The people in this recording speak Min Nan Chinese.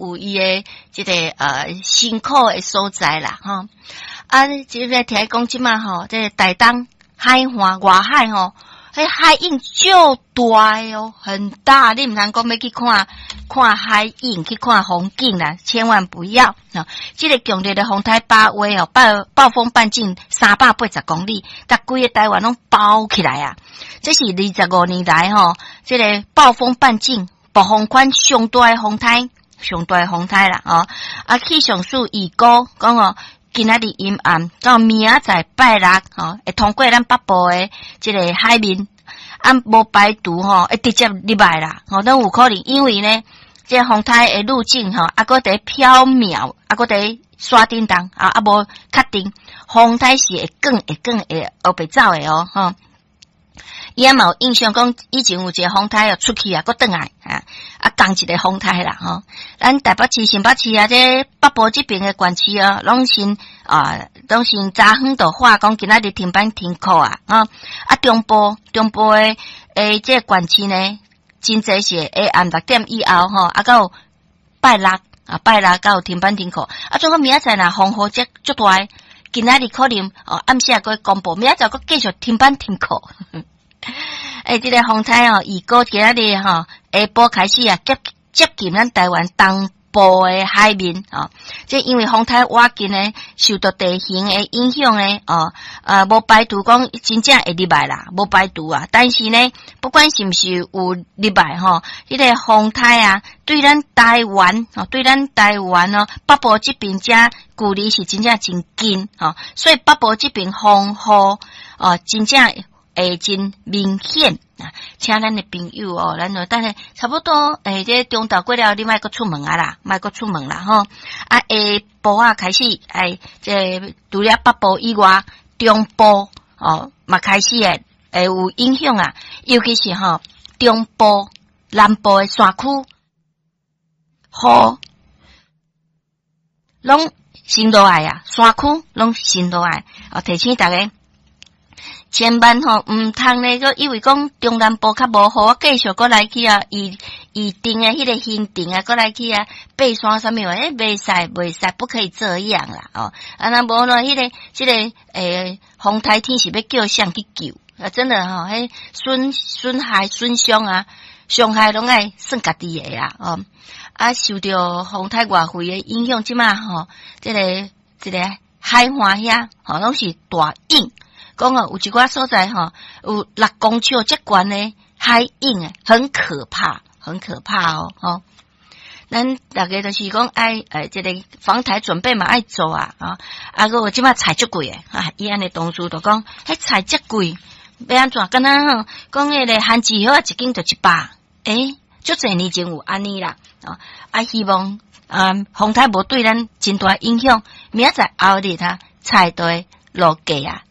有伊的這个辛苦的所在啦，吼。啊，這个聽講這馬吼，這个台東海岸外海吼，彼海湧足大哦，很大，你毋通講欲去看看海湧，去看風景啦，千萬不要啊！這个強烈的風颱巴威哦，暴風半徑380公里，共規个台灣攏包起來啊！這是25年來吼，這个暴風半徑暴風圈上大的風颱，上大的風颱啦！哦，啊，氣象署預估講哦，今仔日陰暗到明仔載拜六吼，會通過咱北部的這个海面。啊，無排除吼，會直接入來啦，吼，攏有可能，因為呢，這個風颱的路徑吼，猶閣佇飄渺，猶閣佇沙叮當，啊，猶無確定，風颱是會轉會轉會烏白走的哦，吼。伊也嘛有印象講，以前有一个風颱哦出去啊，閣轉來啊，啊，仝一个風颱啦，吼。咱台北市、新北市啊，這北部這爿的縣市哦，攏先啊，攏先早昏就喊講今仔日停班停課啊，吼。啊，中部的這个縣市呢，真濟是下暗6點以後吼，啊，到拜六啊，拜六才有停班停課。啊，總講明仔載若風雨這足大，今仔日可能哦暗時閣會公布，明仔載閣繼續停班停課。欸，這个風颱哦，預估今仔日吼下晡開始啊，接近咱台灣東部的海面哦。這因為風颱倚近呢，受到地形的影響呢，哦，無排除講真正會入來啦，無排除啊。但是呢，不管是毋是有入來吼，這个風颱啊，對咱台灣哦，對咱台灣哦，北部這爿遮距離是真正真近吼，所以北部這爿風雨哦，真正會真明顯啊！請咱的朋友哦，咱就等下差不多，欸，這中晝過了，你莫閣出門啊啦，莫閣出門啦吼！啊，下晡啊開始，欸，這除了北部以外，中部哦嘛開始會有影響啊，尤其是吼中部、南部的山區，雨攏先落來啊，山區攏先落來哦，提醒大家。千萬吼，毋通咧，閣以為講中南部較無雨，繼續閣來去啊，預定的彼个行程啊，閣來去啊，爬山啥物話，欸，袂使袂使，不可以這樣啦，哦，啊，若無咯，彼个這個風颱天是欲叫誰去救？啊，真的吼，彼損害損傷啊，傷害攏愛算家己的啊，哦，啊，受著風颱外圍的影響，這馬吼，這個海岸遐吼，攏是大湧。講哦，有一寡所在吼，有6公尺遮懸的海湧，很可怕，很可怕哦，吼。咱大家就是講愛，這个防颱準備嘛愛做啊，啊，啊，閣有這馬菜足貴的，啊，伊按呢同事就講，彼菜遮貴，欲按怎？敢若吼，講彼个番薯葉仔一斤就100，欸，足濟年前有按呢啦，啊，啊，希望啊，風颱無對咱真大影響，明仔載後日啊，菜都會落價啊。